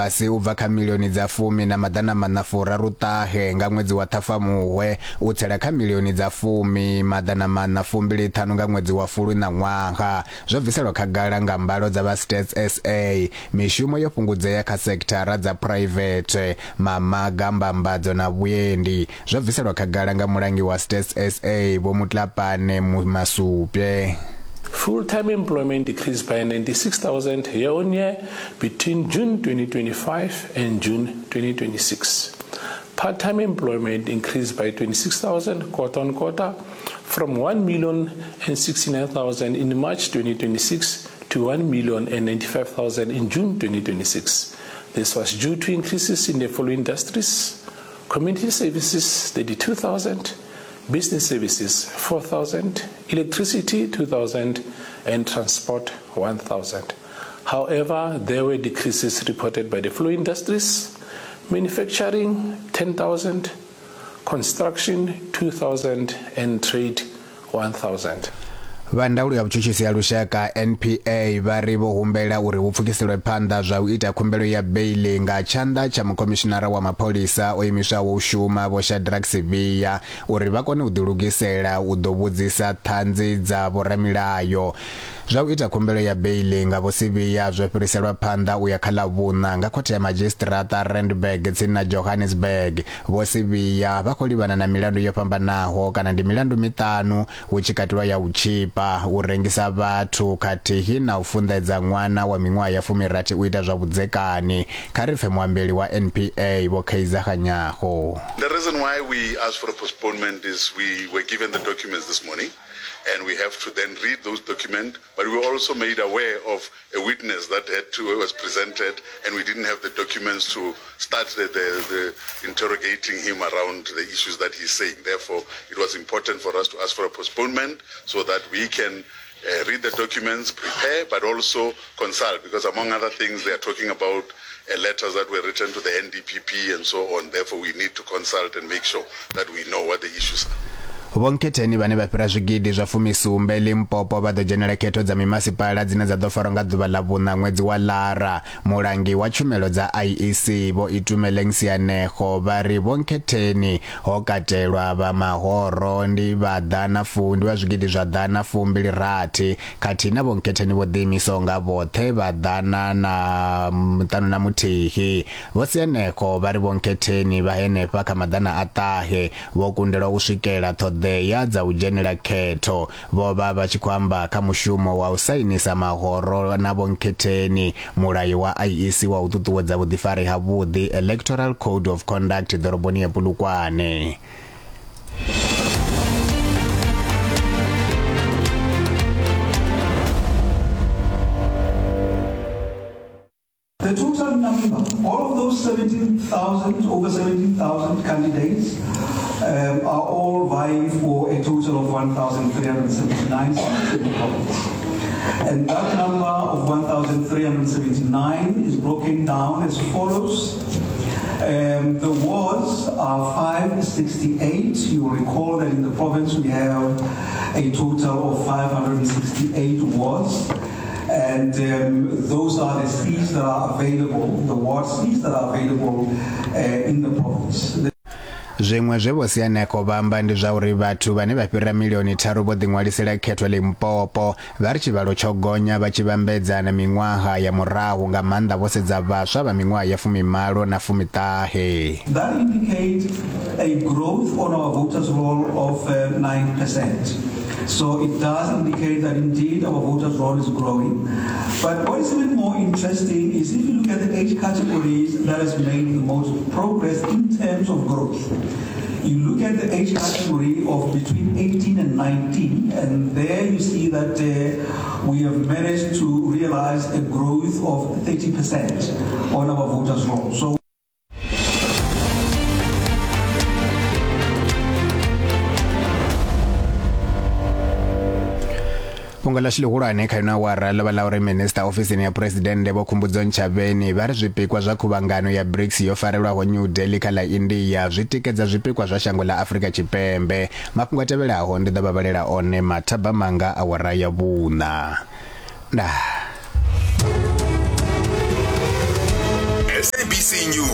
fhasi u bva kha milioni dza fumi na maḓana maṋa furaru ṱahe nga ṅwedzi wa Ṱhafamuhwe u tsela kha milioni dza fumi maḓana maṋa fumbili ṱhanu nga ṅwedzi wa Fulwi ṋaṅwaha. Zwo bviselwa khagala nga mbalo dza vha Stats SA. Mishumo yo fhungudzea kha sekithara dza phuraivethe, mamaga, mbambadzo na vhuendi. Zwo bviselwa khagala nga mulangi wa Stats SA Vho Mutlapane Masupye. Full-time employment decreased by 96,000 year-on-year between June 2025 and June 2026. Part-time employment increased by 26,000 quarter-on-quarter from 1,069,000 in March 2026 to 1,095,000 in June 2026. This was due to increases in the following industries: community services 32,000, business services 4,000, electricity 2,000, and transport 1,000. However, there were decreases reported by the following industries: manufacturing 10,000, construction 2,000, and trade 1,000. Vha ndaulo ya vhutshutshisi ya lushaka NPA vha ri vho humbela uri hu pfukiselwe phanḓa zwa u ita khumbelo ya beiḽi nga tshanḓa tsha mukhomishinara wa mapholisa o imiswaho u shuma Vho Shadrack Sibiya uri vha kone u ḓilugisela u ḓo vhudzisa ṱhanzi dza vhoramilayo. Zwa u ita khumbelo ya beiḽi nga Vho Sibiya zwo fhiriselwa phanḓa u ya kha Ḽavhuṋa nga khothe ya madzhisiṱiraṱa Randburg tsini na Johannesburg. Vho Sibiya vha khou livhana na milandu yo fhambanaho kana ndi milandu miṱanu hu tshi katelwa ya u tzhipa, u rengisa vhathu khathihi na u funḓedza ṅwana wa miṅwaha ya fumirathi u ita zwa vhudzekani. Kha ri pfe muambeli wa NPA Vho Kaizer Kganyago. The reason why we asked for a postponement is we were given the documents this morning and we have to then read those documents, but we were also made aware of a witness that had to, was presented and we didn't have the documents to start the, the, the interrogating him around the issues that he's saying. Therefore, it was important for us to ask for a postponement so that we can uh, read the documents, prepare, but also consult, because among other things, they are talking about uh, letters that were written to the NDPP and so on. Therefore, we need to consult and make sure that we know what the issues are. Vho Nkhetheni vhane vha fhira zwigidi zwa fumisumbe Limpopo vha ḓo dzhenela khetho dza mimasipala dzine dza ḓo farwa nga ḓuvha ḽa vhuṋa ṅwedzi wa Lara. Mulangi wa tshumelo dza IEC Vho Itumeleng Sianego vha ri Vho Nkhetheni ho katelwa vha mahoro ndi vha ḓana fu ndi vha zwigidi zwa ḓana fumbili rathi khathihi na Vho Nkhetheni vho ḓiimisaho nga vhoṱhe vha ḓana na ṱanu na muthihi. Vho Sianego vha ri Vho Nkhetheni vha henefha kha maḓana a ṱahe vho kundelwa u swikela ṱhoḓea dza u dzhenela khetho. Vho vha vha tshi khou amba kha mushumo wa u sainisa mahoro na Vho Nkhetheni mulayo wa IEC wa u ṱuṱuwedza vhuḓifari havhuḓi, Electoral Code of Conduct, ḓoroboni ya Polokwane. The total number, all of those 17,000, over 17,000 candidates, um, are all vying for a total of 1,379 seats in the province. And that number of 1,379 is broken down as follows. Um, the wards are 568. You will recall that in the province we have a total of 568 wards. And um, those are the seats that are available, the ward seats that are available uh, in the province. The Zwiṅwe zwe Vho Sianeko vha amba ndi zwa uri vhathu vhane vha fhira milioni tharu vho ḓiṅwalisela khetho Limpopo. Vha ri tshivhalo tsho gonya vha tshi vhambedza na miṅwaha ya murahu, nga maanḓa vho sedza vhaswa vha miṅwaha ya fumimalo na fumiṱahe. That indicates a growth on our voters roll of uh, 9%. So it does indicate that indeed our voters roll is growing. But what is even more interesting is if you look at the age categories that has made the most progress in terms of growth. You look at the age category of between 18 and 19, and there you see that uh, we have managed to realize a growth of 30% on our voters roll. So Fhungo ḽashu ḽihulwane kha ino awara ḽo vha ḽa uri Minisiṱa ofisini ya Phresidennde Vho Khumbudzo Ntshavheni vha ri zwipikwa zwa khuvhangano ya BRICS yo farelwaho New Delhi kha ḽa India zwi tikedza zwipikwa zwa shango ḽa Afrika Tshipembe. Mafhungo a tevhelaho ndi ḓo vha vhalela one mathabamanga awara ya vhuṋa. Ndaa. SABC News.